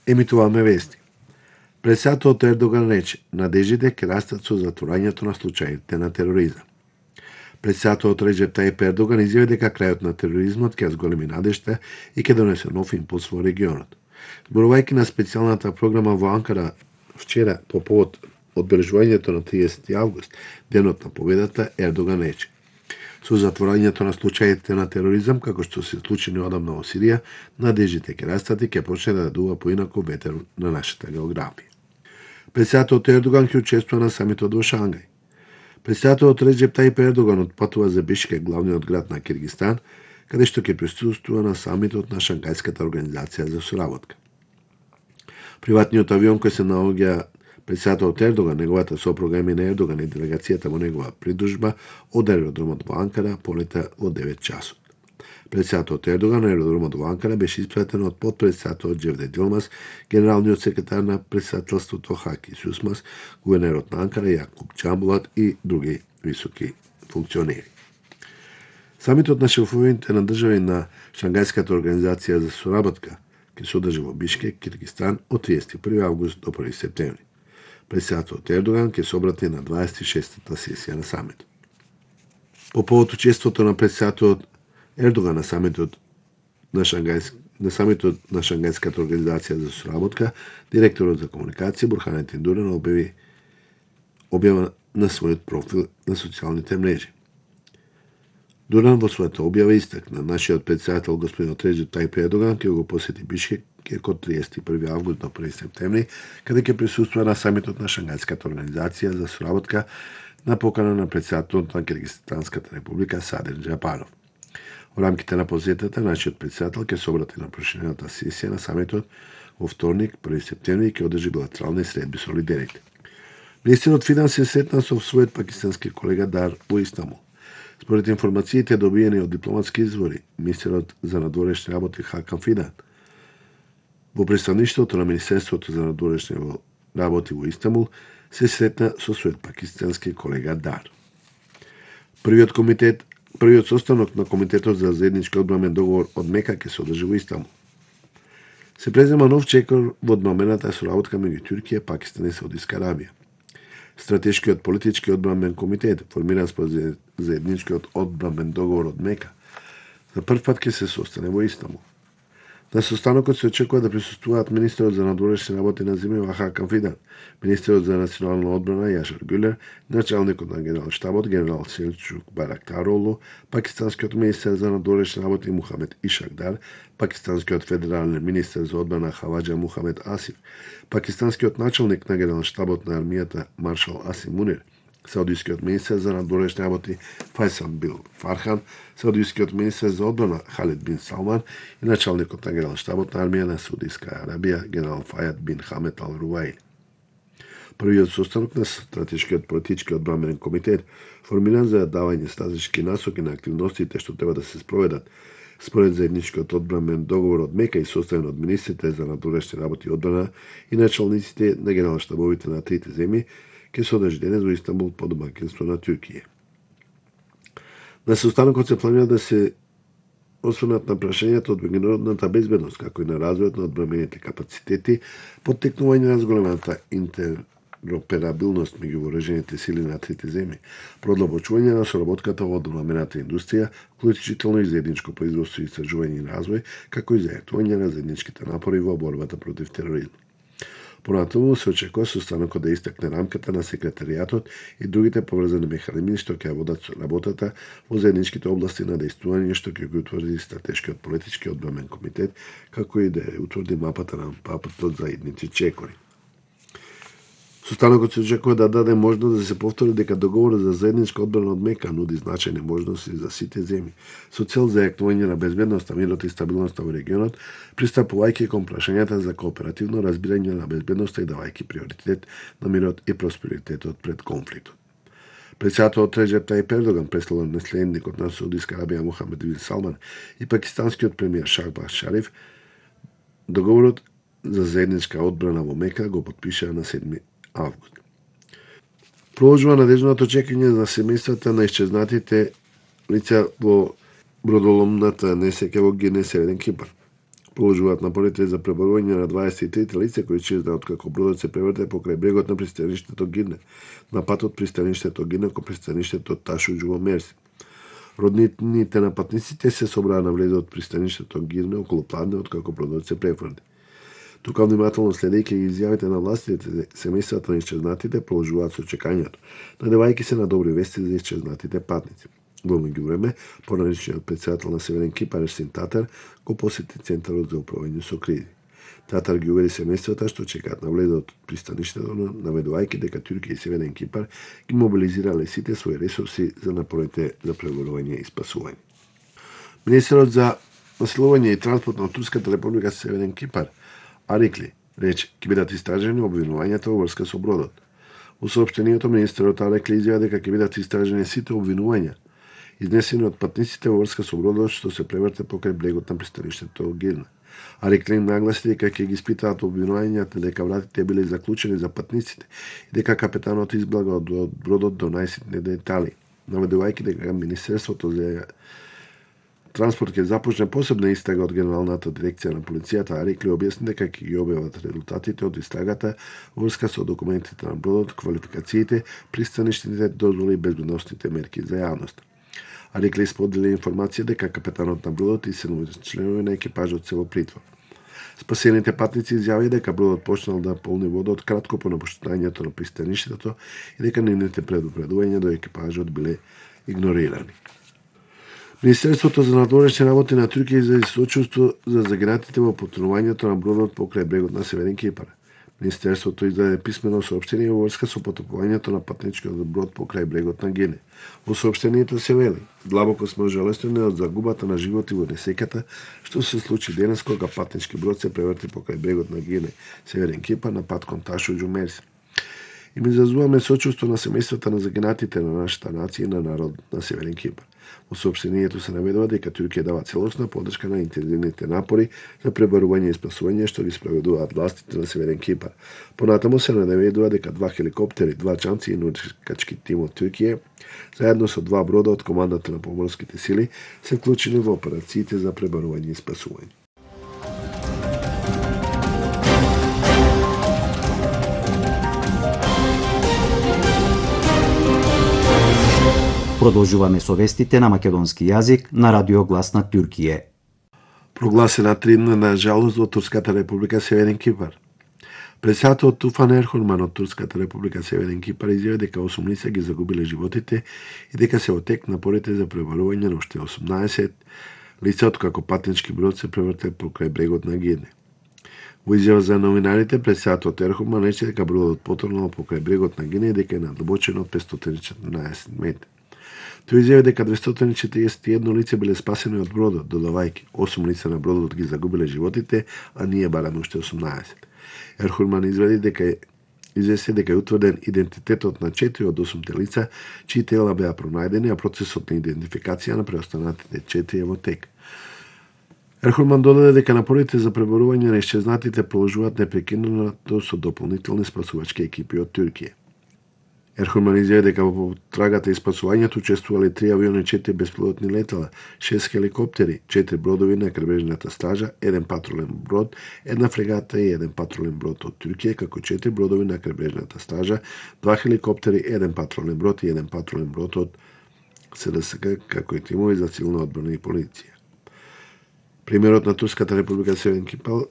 Емитуваме вести. Председателот Ердоган рече, надежите ќе растат со затворањето на случаите на тероризам. Председателот Реджеп Тајип Ердоган изјави дека крајот на тероризмот ќе зголеми надежта и ќе донесе нов импулс во регионот. Зборувајќи на специјалната програма во Анкара вчера по повод одбележувањето на 30 август, денот на победата, Ердоган рече: со затворањето на случаите на тероризам, како што се случи неодамна во Сирија, надежите ќе растат и ќе почне да дува поинаку ветер на нашата географија. Председателот Ердоган ќе учествува на самитот во Шангај. Председателот Реджеп Тајип Ердоган отпатува за Бишкек, главниот град на Киргизстан, каде што ќе присуствува на самитот на Шангајската организација за соработка. Приватниот авион кој се наоѓа председателот Ердоган, неговата сопруга Емине Ердоган и делегацијата во негова придружба од аеродромот во Анкара полета во 9 часот. Председателот Ердоган на аеродромот во Анкара беше испратен од подпредседателот Џевдет Јилмаз, генералниот секретар на председателството Хаки Сусмас, гувернерот на Анкара Јакуб Џамбулат и други високи функционери. Самитот на шефовите на држави на Шангајската организација за соработка ќе се одржи во Бишкек, Киргизстан од 31 август до 1 септември. Председателот Ердоган ќе се обрати на 26-та сесија на самитот. По повод учеството на председателот Ердоган на самитот на Шангајската организација за соработка, директорот за комуникација Бурханет Индуран објава на својот профил на социјалните мрежи. Дуран во својата објава истакна нашиот председател господин Реджеп Тајип Ердоган ќе го посети Бишкек од 31 август до 1 септември, каде ќе присуствува на самитот на Шангајската организација за соработка на покана на председателот на Киргизстанската република Садир Џапаров. Во рамките на посетата, нашиот председател ќе се обрати на проширената сесија на самитот во вторник, 1 септември, и ќе одржи билатерални средби со лидерите. Министерот финансија сретна со својот пакистански колега Дар во Истанбул. Според информациите добиени од дипломатски извори, министерот за надворешни работи Хакан Фидан во представништвото на Министерството за надворешни работи во Истанбул се сретна со својот пакистански колега Дар. Првиот состанок на Комитетот за заеднички одбранен договор од Мека ќе се одржи во Истанбул. Се презема нов чекор во одбранената соработка меѓу Туркија, Пакистан и Саудиска Арабија. Стратешкиот политички одбранен комитет, формиран според заедничкиот одбранен договор од Мека, за прв пат ќе се состане во Истанбул. На состанокот се очекува да присуствуваат министерот за надворешни работи на земјава Хакан Фидан, министерот за национална одбрана Јашар Гюлер, началникот на генерал-штабот генерал Селчук Барактаролу, пакистанскиот министер за надворешни работи Мухамед Ишакдар, пакистанскиот федерален министер за одбрана Хаваџа Мухамед Асиф, пакистанскиот началник на генерал-штабот на армијата маршал Асим Мунир, саудискиот министер за надворешни работи Фајсал Бил Фархан, саудискиот министер за одбрана Халид бин Салман и началникот на генерал-штабот на армија на Саудиска Арабија генерал Фајад бин Хамед Ал Руаили. Првиот состанок на стратешкиот политички одбранен комитет, формиран за давање стратешки насоки на активностите што треба да се спроведат според заедничкиот одбранен договор од Мека и составен од министрите за надворешни работи и одбрана и началниците на генерал-штабовите на трите земји, ќе се одржи денес во Истанбул под домаќинство на Туркија. На состанокот се планира да се осврнат на прашањата од меѓународната безбедност, како и на развојот на одбранените капацитети, поттекнување на зголемената интероперабилност меѓу вооружените сили на трите земји, продлабочување на соработката во одбранената индустрија, вклучително и заедничко производство и истражување и развој, како и зајактување на заедничките напори во борбата против тероризмот. Понатаму се очекува состанокот да истакне рамката на секретаријатот и другите поврзани механизми што ќе водат работата во заедничките области на дејствување што ќе го утврди стратешкиот политички одбранен комитет, како и да утврди мапата на патот за идните чекори. Состанокот се очекува да даде можност да се повтори дека договорот за заедничка одбрана од Мека нуди значајни можности за сите земји, со цел зајакнување на безбедноста, мирот и стабилноста во регионот, пристапувајќи кон прашањата за кооперативно разбирање на безбедноста и давајќи приоритет на мирот и просперитетот пред конфликтот. Председателот Реджеп Тајип Ердоган, наследникот на Саудиска Арабија Мухамед бин Салман и пакистанскиот премиер Шахбаз Шариф, договорот за заедничка одбрана во Мека го потпишаа на 7 август. Продолжува надежното чекање за семејствата на исчезнатите лица во бродоломната несреќа во Гине, Северен Кипар. Продолжуваат напорите за преборување на 23 лица кои исчезна откако бродот се преврте покрај брегот на пристаништето Гирне, на патот пристаништето Гирне кон пристаништето Ташуџ во Мерси. Роднините на патниците се собраа на влезот од пристаништето Гирне околу пладне откако бродот се префрли. Тука внимателно следејќи изјавите на властите, семејствата на исчезнатите продолжуваат со чекањето, надевајќи се на добри вести за исчезнатите патници. Во меѓувреме, поранешниот претседател на Северен Кипар Ерсин Татар го посети Центарот за управување со кризи. Татар ги увери семејствата што чекаат на влезот од пристаништето, наведувајќи дека Туркија и Северен Кипар ги мобилизирале сите своји ресурси за напорите за преборување и спасување. Министерот за населување и транспорт на Турската република Северен Кипар Арикли рече ќе бидат истражени обвинувањата во врска со бродот. Во соопштението министерот Арикли изјави дека ќе бидат истражени сите обвинувања изнесени од патниците во врска со бродот што се преврте покрај брегот на пристаништето Гирна. Арикли нагласи дека ќе ги испитаат обвинувањата дека вратите биле заклучени за патниците и дека капетанот изблага од бродот до најситни детали, наведувајќи дека Министерството за транспорт ќе започне посебна истрага од Генералната дирекција на полицијата. Арикли објасни дека ќе ги објават резултатите од истрагата во врска со документите на бродот, квалификациите, пристаништните дозволи и безбедносните мерки за јавноста. Арикли сподели информација дека капетанот на бродот и 7 членови на екипажот се во притвор. Спасените патници изјавија дека бродот почнал да полни водот кратко по напуштањето на пристаништето и дека нивните предупредувања до екипажот биле игнорирани. Министерството за надворешни работи на Туркија изрази сочувство за загинатите во потонувањето на бродот покрај брегот на Северен Кипар. Министерството издаде писмено соопштение во врска со потопувањето на патничкиот брод покрај брегот на Гине. Во соопштението се вели: "Длабоко сме ожалестени од загубата на животи во несеката што се случи денес кога патнички брод се преврти покрај брегот на Гине, Северен Кипар, на пат кон Ташуџ во Мерси. И ми изразуваме сочувство на семејствата на загинатите на нашата нација и на народот на Северен Кипар." Во соопштението се наведува дека Туркија дава целосна поддршка на интензивните напори за преборување и спасување што ги спроведуваат властите на Северен Кипар. Понатаму се наведува дека 2 хеликоптери, 2 чамци и научкачки тим од Туркија, заедно со 2 брода од командата на поморските сили, се вклучени во операциите за преборување и спасување. Продолжуваме со вестите на македонски јазик на Радио Глас на Туркија. Прогласена 3-дневна жалост во Турската република Северен Кипар. Председателот Туфан Ерхурман од Турската република Северен Кипар изјави дека 8 лица ги загубиле животите и дека се во тек напорите за преборување на уште 18 лица откако патнички брод се преврте покрај брегот на Гирне. Во изјава за новинарите, председателот Ерхурман рече дека бродот потонал покрај брегот на Гирне и дека е надлабочен од 514 метри. Тој изјави дека 241 лице биле спасени од бродот, додавајќи 8 лица на бродот ги загубиле животите, а ние бараме уште 18. Ерхурман изведи дека е утврден идентитетот на 4 од 8 лица, чии тела беа пронајдени, а процесот на идентификација на преостанатите 4 е во тек. Ерхурман додаде дека напорите за преборување на исчезнатите продолжуваат непрекинато со дополнителни спасувачки екипи од Туркија. Ерхурман изјави дека во трагата и спасувањето учествувале 3 авиони, 4 беспилотни летала, 6 хеликоптери, 4 бродови на крайбрежната стража, 1 патрулен брод, 1 фрегата и 1 патрулен брод од Туркија, како 4 бродови на крайбрежната стража, 2 хеликоптери, 1 патрулен брод и 1 патрулен брод од СДСК, како и тимови за цивилна одбрана и полиција. Премиерот на Турската република Северен Кипар